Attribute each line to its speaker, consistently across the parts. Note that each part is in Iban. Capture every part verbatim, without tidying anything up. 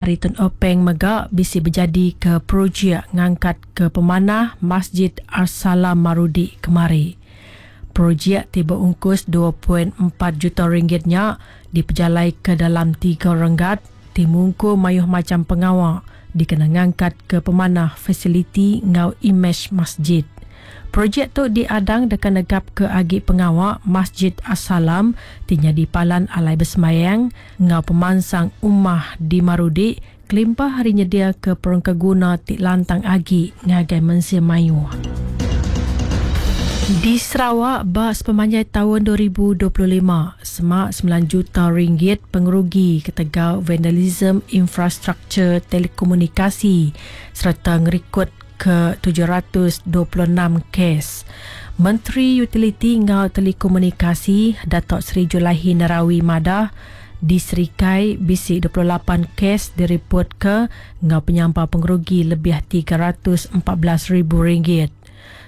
Speaker 1: Ari Tun Openg mega bisi bejadi ke projek ngangkat ke pemanah Masjid Ar-Salam Marudi kemari. Projek ti beungkus dua poin empat juta ringgit nya dipejalai ke dalam tiga renggat ti mungkur mayuh macham pengawa dikena ngangkat ke pemanah fasiliti enggau imej masjid. Projek tu diadang deka negap ke agi pengawa Masjid Ar-Salam ti nyadi palan alai besemayang enggau pemansang ummah di Marudi kelimpah hari nyedia ke perengkaguna ti lantang agi ngagai mensia mayuh. Di Sarawak, ba sepemanjai tahun dua ribu dua puluh lima, semak sembilan juta ringgit pengerugi ketegal vandalisme infrastruktur telekomunikasi serta ngerikod ke tujuh ratus dua puluh enam kes. Menteri Utiliti enggau Telekomunikasi Datuk Seri Julaihi Narawi madah di Serikai bisi dua puluh lapan kes diripot ke enggau penyampau pengerugi lebih tiga ratus empat belas ribu ringgit.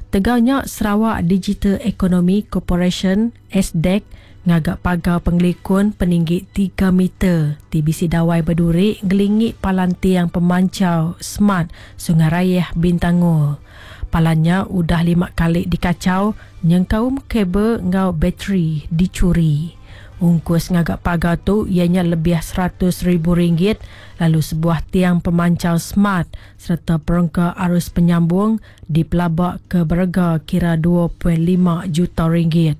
Speaker 1: Tegaunya Sarawak Digital Economy Corporation S D E C ngagak pagar pengelikun peninggi tiga meter T B C dawai berduri ngelingi palan tiang pemancau smart Sungai Rayeh Bintangor. Palannya udah lima kali dikacau nyengkaum kabel ngau bateri dicuri. Ungkus ngagak pagar tu ianya lebih seratus ribu ringgit lalu sebuah tiang pemancau smart serta perengka arus penyambung dipelabak ke berega kira dua poin lima juta ringgit.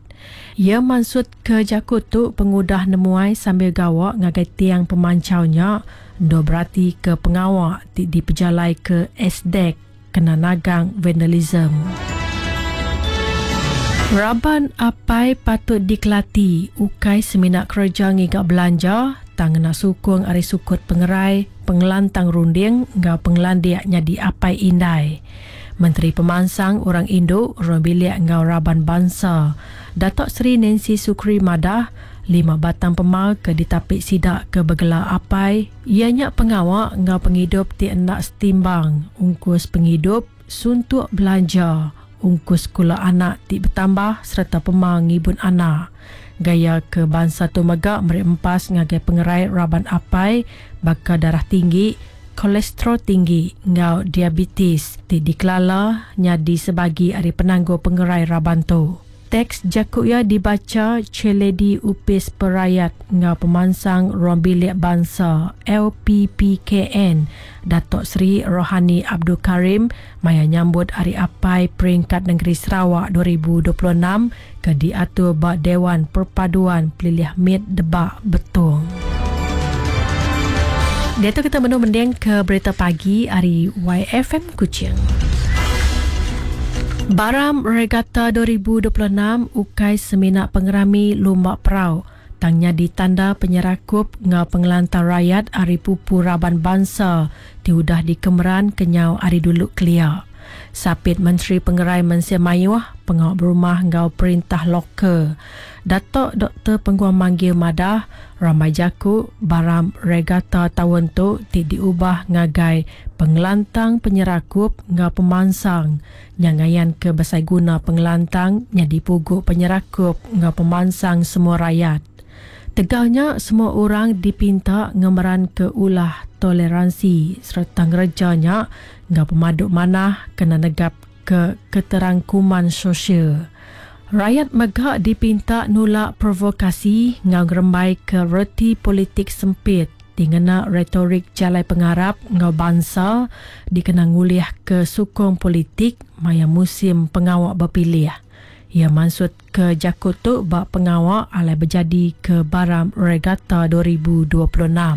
Speaker 1: Ia maksud ke jakut tu pengudah nemuai sambil gawak ngagai tiang pemancaunya ndo berarti ke pengawak ti dipejalai ke S D E C kena nagang vandalism. Raban apai patut dikelati ukai semina kerja ngigak belanja tang ngena sukung ari sukut pengerai pengelantang runding enggau pengelandik nyadi apai indai. Menteri Pemansang Orang Induk Ruang Bilik enggau Raban Bansa Datuk Seri Nancy Sukri madah lima batang pemal ke ditapik sidak ke bergelar apai ianya pengawak enggau pengidup ti enda setimbang ungkus pengidup suntuk belanja ungkus sekolah anak ti bertambah serta pemal ngibun anak. Gaya ke bangsa tu mega meri empas ngagai pengerai raban apai baka darah tinggi, kolesterol tinggi enggau diabetes ti dikelala nyadi sebagi ari penanggul pengerai raban tu. Teks jaku ia dibaca Chairlady Upis Perayat enggau Pemansang Ruang Bilik Bansa L P P K N Datuk Seri Rohani Abdul Karim maya nyambut Hari Apai Peringkat Negeri Sarawak dua ribu dua puluh enam ke diatur ba Dewan Perpaduan Pelilih Mit Debak Betong. Dia tu kita menu mending ke berita pagi hari Y F M Kuching. Baram Regatta dua ribu dua puluh enam ukai semina pengerami lumba perau. Tangnya ditanda penyerakup ngau pengelantar rakyat ari pupu raban bangsa ti udah dikemeran kenyau ari dulu kelia. Sapit Menteri Pengerai Mensia Mayuh, Pengawak Berumah ngau Perintah Lokal. Datuk Doktor Penguang Manggil madah ramai jaku Baram Regatta tahun tu ti diubah ngagai pengelantang penyerakup ngau pemansang nyangayan ke besai guna pengelantang nyadi puguk penyerakup ngau pemansang semua rakyat. Tegaunya semua orang dipinta ngemeran ke ulah toleransi serta ngerejanya ngau pemaduk manah kena negap ke keterangkuman sosial. Rakyat megak dipinta nulak provokasi ngau ngerembai ke reti politik sempit dingena retorik jalai pengarap ngau bangsa dikena ngulih ke sukong politik maya musim pengawak berpilih. Ia maksud ke jakut tu bak pengawak alai berjadi ke Baram Regatta dua ribu dua puluh enam.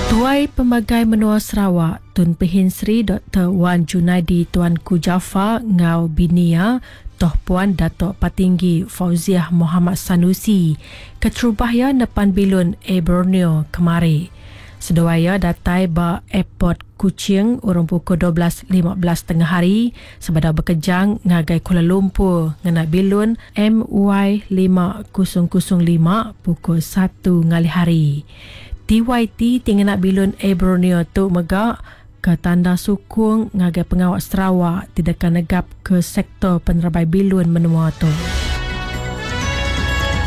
Speaker 1: Tuai Pemagai Menua Sarawak Tun Pehin Sri Doktor Wan Junaidi Tuanku Jaafar ngau binia Toh Puan Datuk Patinggi Fauziah Muhammad Sanusi keterubah nepan bilun Air Borneo kemari. Seduaya datai ba airport Kuching urang pukul dua belas lima belas tengah hari sebedau berkejang ngagai Kuala Lumpur ngena bilun M Y lima kosong kosong lima pukul satu ngalih hari. T Y T tingena bilun Air Borneo tu megak ke tanda sukung ngagai pengawak Sarawak tidak negap ke sektor penerbai bilun menua tu.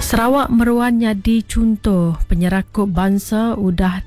Speaker 1: Sarawak meruan nyadi chunto penyerakup bansa udah ti